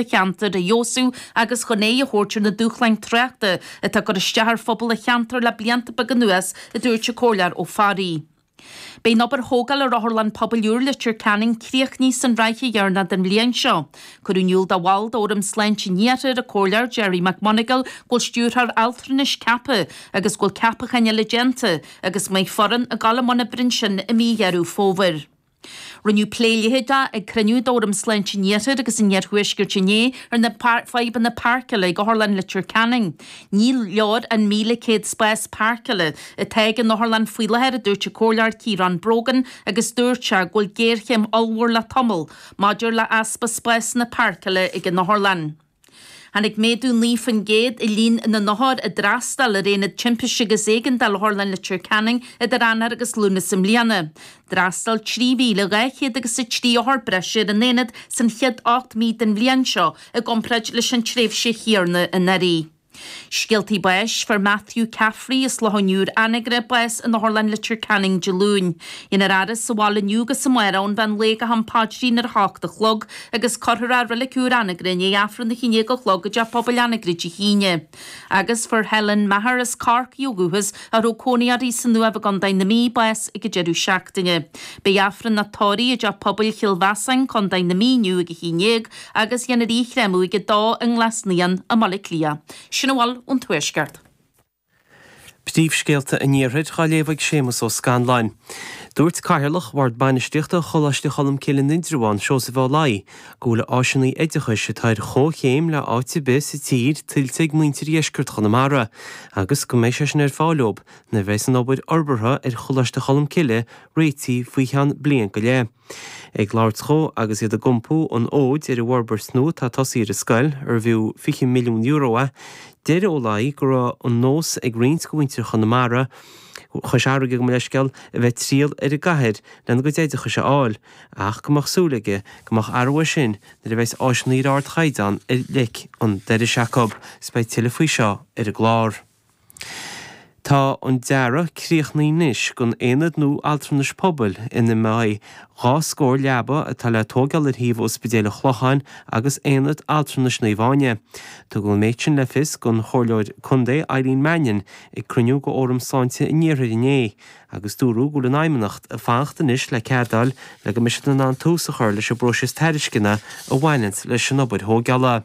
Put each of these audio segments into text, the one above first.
Cheantair a fheabhsú agus chun aghaidh a thabhairt ar na dúshláin tráchta atá ag cur isteach ar phobal an cheantair le blianta beaga anuas, a dúirt an Comhairleoir Ó Fearraigh. Beidh an obair thógála ar Otharlann Pobail úr Leitir Ceanainn críochnaithe san ráithe dheireanach den bhliain seo. Cuireadh in iúl do bhall d'Fhóram Sláinte an Iarthair, an Comhairleoir Gerry McMonagall, go bhfuil stiúrthóir altranais ceaptha agus go bhfuil ceapacháin eile déanta agus go mbeidh foireann ag dul i mbun oibre ansin i mí Dheireadh Fómhair. Rinneadh plé leitheadach ag cruinniú d'Fhóram Sláinte an Iarthair agus an Iarthuaiscirt inné ar na fadhbanna páirceála ag Otharlann Leitir Ceanainn. Ní leor an 1,100 spás páirceála atá ag an otharlann faoi láthair, a dúirt an Comhairleoir Ciarán Brogan agus dúirt sé go bhfuil géarchéim ollmhór le tamall maidir le easpa spásanna páirceála ag an otharlann. Tháinig méadú 9% i líon na n-othar a d'fhreastail ar Aonad Timpiste agus Éigeandála Otharlann Leitir Ceanainn idir Eanáir agus Lúnasa i mbliana. D'fhreastail 3,200 agus 3 othar breise ar an aonad san chéad 8 mí den bhliain seo i gcomparáid leis an tréimhse chéanna anuraidh. Scéaltaí báis, Fuair Matthew Caffrey as Loch an Iúir, Anagaire, bás in Otharlann Leitir Ceanainn Dé Luain. Déanfar a fhaire sa bhaile inniu agus amárach ón mheán lae go ham paidrín ar a hocht a chlog agus cuirfear é i Reilig Úr Anagaire i ndiaidh Aifreann a haon déag a chlog i dTeach Pobail Anagaire Dé hAoine. Agus fuair Helen Maher as Corcaigh ó dhúchas, a raibh cónaí uirthi san Uaimh i gContae na Mí, bás ag an deireadh seachtaine. Beidh Aifreann a tórraimh i dTeach Pobail Chill Mheasáin, Contae na Mí inniu ag a haon déag agus dhéanfar í a chréamadh ag a dó i nGlas Naíon i mBaile Átha Cliath. Sin a bhfuil ón Tuaisceart. Príomhscéalta an Iarthair á léamh ag Séamus Ó Scanláin. Dúirt Cathaoirleach Bhord Bainistíochta Choláiste Cholmcille in Indreabhán, Seosamh Ó Laoi, go bhfuil áiseanna oideachais atá ar chomhchéim le áit ar bith sa tír tuillte ag muintir dheisceart Chonamara agus go mbeidh sé sin ar fáil dóibh nuair a bheas an obair fhorbartha ar Choláiste Cholmcille réitithe faoi cheann bliain go leith. Ag labhairt dhó agus iad ag iompú an fhóid ar an bhforbairt nua atá tosaithe ar an scoil, arbh fhiú €20 milliún é, deir Ó Laoi go raibh an nós ag roinnt de mhuintir Chonamara, Chois Fharraige gabh mo leithscéal, a bheith ag triall ar an gcathair lena gcuid oideachais a fháil, ach go mbeadh súil aige go mbeadh athrú air sin nuair a bheas áiseanna ar ardchaighdeán ar leic an dorais acu. 'S beidh tuilleadh faoi seo ar an gclár. Tá an dearadh críochnaithe anois don aonad nua altranais pobail ina mbeidh dhá scór leaba atá le tóigeáil ar shuíomh Ospidéal an Chlocháin agus Aonad Altranais Naomh Áine. Tugadh an méid sin le fios don Chomhairleoir Contae Eileen Mannion ag cruinniú de Fhóram Sláinte an Iarthair inné agus dúradh go bhfuil an Fheidhmeannacht ag fanacht anois le cead a fháil le go mbeidh siad in ann tús a chur leis an bpróiseas tairisceana a bhaineanns leis an obair thóigeála.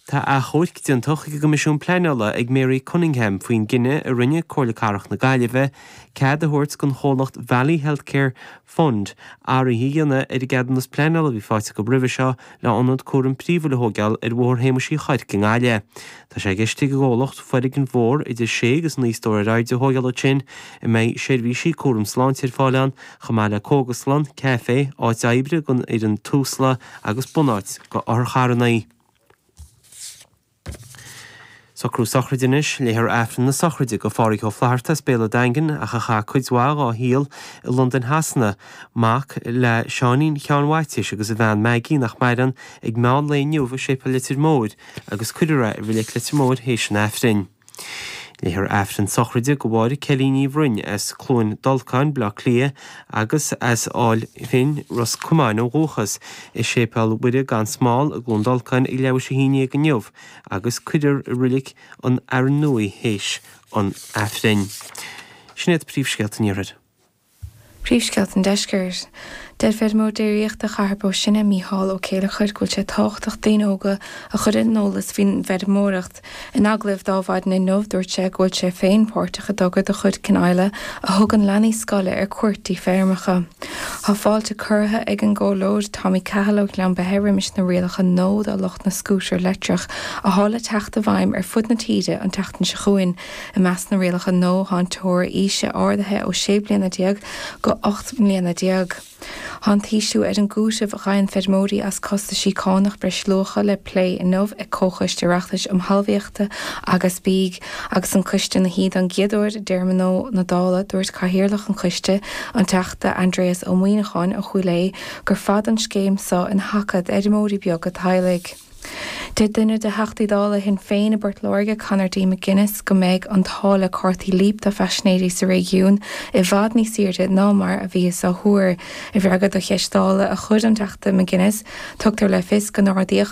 Tá achomharc déanta chuig an gCoimisiún Pleanála ag Mary Cunningham faoin gcinneadh a rinne Comhairle Cathrach na Gaillimhe cead a thabhairt don chomhlacht Valley Healthcare Fund athruithe a dhéanamh ar an gceadúnas pleanála a bhí faighte acu roimhe seo le hionad cúraim príomhúil a thóigeáil ar Bhóthar Shéamuis Uí Chuirc i nGaillimh. Tá sé i gceist ag an gcomhlacht foirgneamh mhór idir sé agus naoi stór ar airde a thóigeáil ansin a mbeidh seirbhísí cúraim sláinte ar fáil ann chomh maith le cógaslann, caifé, áit oibre don fhoireann Tusla agus bunáit do otharcharranna. Socrú sochraide anois, léifear Aifreann na sochraide do Phádhraic Ó Flatharta as Béal an Daingin ach a chaith cuid mhaith dhá shaol i Londain Shasana, mac le Seáinín Sheáin Mhaitiais agus a bhean Maggie nach maireann, ag meán lae inniu i Séipéal Leitir Móir agus cuirfear é i Reilig Leitir Móir théis an Aifrinn. Léifear Aifreann sochraide do Mháire Kelly Ní Bhroin as Cluain Dolcáin, Baile Átha Cliath agus as Áil Finn, Ros Comáin ó dhúchas, i Séipéal Mhuire gan Smál i gCluain Dolcáin ag leathuair théis a haon dhéag inniu agus cuirfear i Reilig an Fhearainn Nua í théis an Aifrinn. Sin iad príomhscéalta an Iarthair. Príomhscéalta an Deiscirt. Deir feirmeoir déiríochta Chathair Bó Sine, Mícheál Ó Céileachair, go bhfuil sé tábhachtach daoine óga a chur ar an eolas faoin bhfeirmeoireacht. In agallamh d'Adhmhaidin inniu, dúirt sé go bhfuil sé féin páirteach i dtogra de chuid Cionaodhla a thugann leanaí scoile ar cuairt dtí feirmeacha. Tá fáilte curtha ag an gComhairleoir Tommy Cahill ó Ghleann Beithe roimis na rialacha nua do lucht na scútar leictreach athá le teacht i bhfeidhm ar fud na tíre an tseachtain seo chugainn. I measc na rialacha nua tá an teora aoise ardaithe ó 16 bliana go 18 mbliana. Tá an t-ísliú ar an gcúiteamh a fhaigheann feirmeoirí as costaisí cánach breisluacha le plé inniu ag Comhchoiste Oireachtais um Thalmhaíochta agus Bídh. Agus an coiste ina shuí don gcéad uair i dtéarma nua na Dála, dúirt Cathaoirleach an choiste, an Teachta Aindrias Ó Muimhneacháin ó Chúil Aodha, gur fada an scéim seo ina thaca d'fheirmeoirí beaga teaghlaigh. Deir duine de Theachtaí Dála Shinn Féin i bPort Láirge, Conor D McGuinness, go mbeidh an táille cártaí Leap do phaisinéirí sa réigiún i bhfad níos airde ná mar a bhíothas á thuar. I bhfreagra do cheist Dála a chuir an Teachta McGuinness, tugtar le fios go n-ardaíodh.